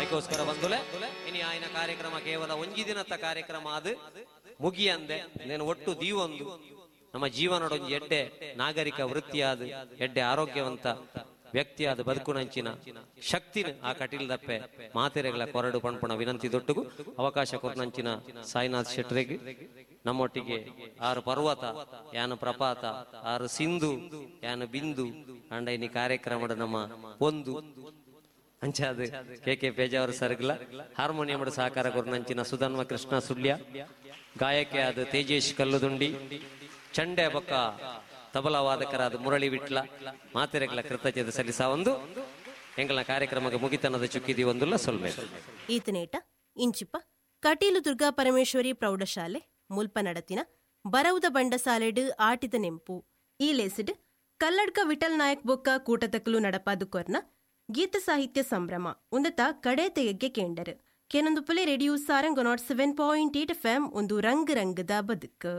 ಐಕೋಸ್ಕರ ಬಂದುಲೆ ಇನಿ ಆಯ್ನ ಕಾರ್ಯಕ್ರಮ ಕೇವಲ ಒಂಜಿ ದಿನದ ಕಾರ್ಯಕ್ರಮ ಅದು ಮುಗಿಯಂದೆ ನೇನು ಒಟ್ಟು ದೀವೊಂದು ನಮ್ಮ ಜೀವನದೊಂಜಿ ಎಡ್ಡೆ ನಾಗರಿಕ ವೃತ್ತಿಯಾದ ಎಡ್ಡೆ ಆರೋಗ್ಯವಂತ ವ್ಯಕ್ತಿಯಾದ ಬದುಕುನಂಚಿನ ಶಕ್ತಿನ ಆ ಕಟೀಲ್ದಪ್ಪೆ ಮಾತೆರೆಗಳ ಕೊರಡು ಪಣ್ಪಣ ವಿನಂತಿ ದೊಟ್ಟುಗು ಅವಕಾಶ ಕೊರನಂಚಿನ ಸಾಯಿನಾಥ್ ಶೆಟ್ರೆಗ್ ನಮ್ಮೊಟ್ಟಿಗೆ ಆರು ಪರ್ವತ, ಯಾನು ಪ್ರಪಾತ, ಆರು ಸಿಂಧು, ಯಾನು ಬಿಂದು, ಅಂಡ ಇನಿ ಕಾರ್ಯಕ್ರಮದ ನಮ್ಮ ಒಂದು ಅಂಚಾದ ಕೆ ಕೆ ಪೇಜಾವರ ಸರ್ಗ್ಲ ಹಾರ್ಮೋನಿಯಂ ಸಹಕಾರ ಕೊರನಂಚಿನ ಸುಧನ್ವ ಕೃಷ್ಣ ಸುಳ್ಯ, ಗಾಯಕಿಯಾದ ತೇಜೇಶ್ ಕಲ್ಲುದುಂಡಿ, ಚಂಡೆ ಬೊಕ್ಕ ತಬಲಾ ವಾದಕರಾದ ಮುರಳಿ ವಿಟ್ಲ ಮಾತೆರೆಗಳ ಕೃತಜ್ಞತೆ ಸಲ್ಲಿಸ ಒಂದು ಎಂಗಳ ಕಾರ್ಯಕ್ರಮಕ್ಕೆ ಮುಗಿತನದ ಚುಕ್ಕಿದಿ ಒಂದುಲ್ಲ ಸೊಲ್ಮೆ. ಈತನೇಟ ಇಂಚಿಪ ಕಟೀಲು ದುರ್ಗಾ ಪರಮೇಶ್ವರಿ ಪ್ರೌಢಶಾಲೆ ಮುಲ್ಪ ನಡತಿನ ಬರವುದ ಬಂಡಸಾಲೆಡ್ ಆಟಿದ ನೆಂಪು ಈ ಲೇಸಿಡ್ ಕಲ್ಲಡ್ಕ ವಿಠಲ್ ನಾಯಕ್ ಬೊಕ್ಕ ಕೂಟತಕಲು ನಡಪಾದು ಕೊರ್ನ ಗೀತ ಸಾಹಿತ್ಯ ಸಂಭ್ರಮ ಉಂದತ ಕಡೆ ತೆಗೆಗೆ ಕೇಂಡರು ಕೇನೊಂದು ಪುಲೆ radio Sarang 107.8 FM ಒಂದು ರಂಗ್ ರಂಗದ ಬದುಕು.